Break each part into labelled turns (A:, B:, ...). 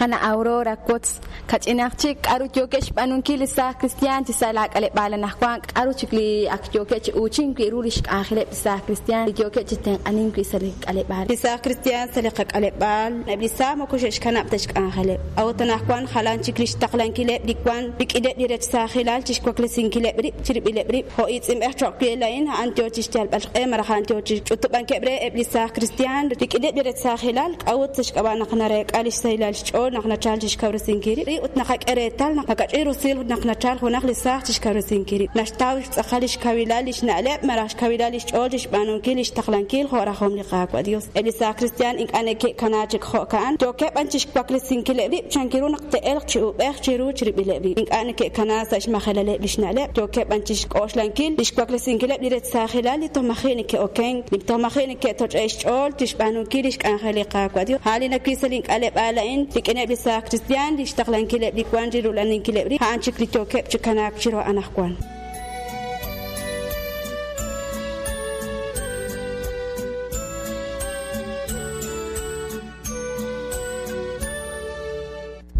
A: Qana' Aurora, wotz kach'inaq chik k'aru yookeb' xb'aanunkil li saaj kristiaan chi sa' laak'aleb'aal anaqwan, k'aru chik li ak yookeb' chi uuchink wi' ru li xk'anjeleb' li saaj kristiaan li yookeb' chi tenq'anink wi' sa' li k'aleb'aal.
B: Li saaj kristiaan sa' li qak'aleb'aal, eb' li saaj moko xe'xkanab' ta xk'anjeleb'. A'ut anaqwan jalan chik li xtaqlankileb' li wank rik'ineb' li rech saajilal chi xwaklesinkileb' rib' chirib'ileb' rib'. Jo' iitz'inb'ej cho'q we laa'in, a'an yo chi xyalb'al xq'e malaj a'an yo chi xch'utub'ankeb' re eb' li saaj kristiaan rik'ineb' li rech saajilal, k'a'ut sa' xk'ab'a' naq nareek'a li xsahilal xch'ool naq nachalk chi xkawresinkil rib' ut naqak'e reetal naq makach'in rusil naq nachalk junaq li saaj chi xkawresinkil rib', naxtaw xtz'aqal li xkawilal li xna'leb' malaj xkawilal li xch'ool chi xb'aanunkil li xtaqlankil jo' rajom li Qaawa' Dios. Eb' li saaj kristiaan ink'a' neke'kana chik jo'ka'an, yookeb' b'an chixwaklesinkileb' rib' chankiru naq te'elq chi uub'ej chiru chirib'ileb' rib'. Ink'a' neke'kana sa' xmajelaleb' lix na'leb', yookeb' b'an chixk'oxlankil lix waklesinkileb' li rech saajilal li toj maji' neke'okenk, li toj maji' neke'toch'e' xch'ool chixb'aanunkil lix k'anjel li Qaawa' Dios. A'an li nawil sa' lin k'aleb'aal a'in rik'ineb' li saaj kristiaan, lix taqlankileb' li wank chirula'aninkileb' rib', a'an chik li yookeb' chi kanaak chiru anajwan.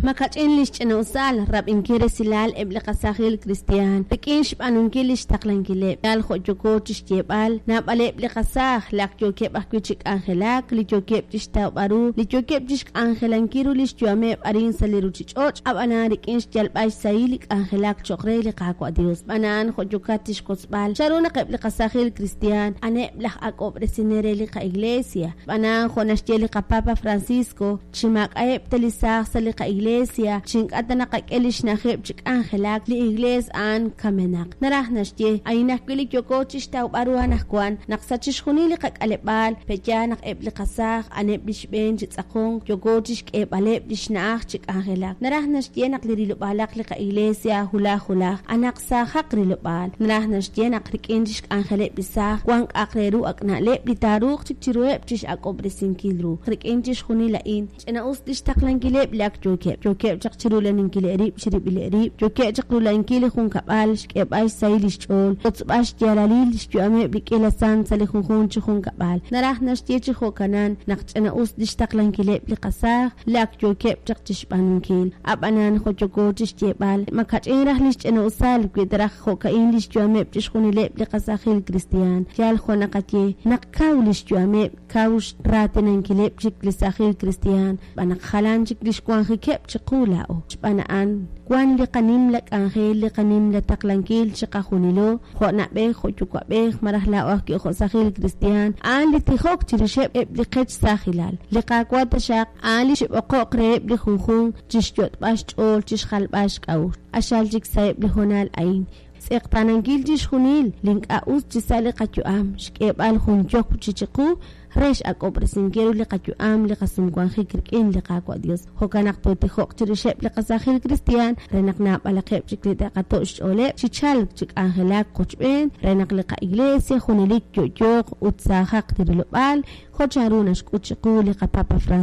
C: Makach'in li xch'ina'usal rab'inkil resilal eb' li qasaajil kristiaan rik'in xb'aanunkil lix taqlankileb'. Yal jo' yooko chixyeeb'al, naab'aleb' li qasaaj li ak yookeb' ajwi' chi k'anjelak, li yookeb' chixtawb'al ru, li yookeb' chixk'anjelankil ru lix yu'ameb' arin sa' li ruchich'och', a'b'anan rik'in xyalb'al xsahil li k'anjelak choq' re li Qaawa' Dios. Xb'aan a'an, jo' yookat chixwotzb'al, chan ru naq eb' li qasaajil kristiaan a'aneb' laj ak'ob'resinel re li qaIglesia. Xb'aan a'an, jo' naxye li qaPapa Francisco, Chi maak'a'eb' ta li saaj sa' li qa'iglesia, chi ink'a' ta naqak'e lix na'ajeb' chi k'anjelak, li Iglees a'an kamenaq. Naraj naxye, a'in ajwi' li yooko chixtawb'al ru anajwan, naq sa' chixjunil li qak'aleb'aal, pe'yaal naq eb' li qasaaj a'aneb' li xb'een chi tz'aqonk, yooko chixk'eeb'aleb' lix na'aj chi k'anjelak. Naraj naxye naq li rilob'aalaq li qa'iglesia wulaj wulaj, anaq saajaq rilob'aal. Naraj naxye naq rik'in lix k'anjeleb' li saaj, wan k'a'aq re ru ak' na'leb' li taaruuq chik chiruheb' chix'ak'ob'resinkil ru. Rik'in chixjunil a'in, ch'ina-us lix taqlankileb' li ak yookeb'. Yookeb' chaq chirulaninkileb' rib' chirib'ileb' rib', yookeb' chaq rulankil li junkab'al, xk'eeb'al xsahil lix ch'ool, xwotzb'al xyaalalil lix yu'ameb' li k'iila sant sa' li junjunq chi junkab'al. Naraj naxye chi jo'kanan naq ch'ina-us lix taqlankileb' li qasaaj li ak yookeb' chaq chixb'aanunkil. A'b'anan, jo' yooko chixyeeb'al, ma ka'ch'in raj lix ch'ina-usal wi ta raj jo'ka'in lix yu'ameb' chixjunileb' li qasaajil kristiaan. Yal jo' naqaye, naq kaw lix yu'ameb', kaw xraatinankileb' chik li saajil kristiaan, xb'aan naq jalan chik lix wanjikeb' chiqu laa'o. Xb'aan a'an, wan li qanimla k'anjel, li qanimla taqlankil chiqajunilo, jo' na'b'ej, jo' yuwa'b'ej, malaj laa'o ajwi' jo' saajil kristiaan, a'an li tijok chirixeb' eb' li qech saajilal. Li Qaawa' taxaq, a'an li xib'oqo'q reheb' li junjunq chixyot'b'al xch'ool chixjalb'al xk'a'uxl. Q'axal chik sa'eb' li hoonal a'in, xtz'eqtaanankil chixjunil li ink'a' us chi sa' li qayu'am, xk'eeb'al jun yokb' chi chiqu re x'ak'ob'resinkil ru li qayu'am, li qasumwanjik rik'in li Qaawa' Dios. Jo'kan naq tootijoq chirixeb' li qasaajil kristiaan re naq naab'alaqeb' chik li te'qato' xch'ooleb' chi chalk chi k'anjelak qochb'een re naq li qa'iglesia junelik yo'yooq ut saajaq li rilob'aal jo' chanru naxk'ut chiqu li qaPapa Francisco.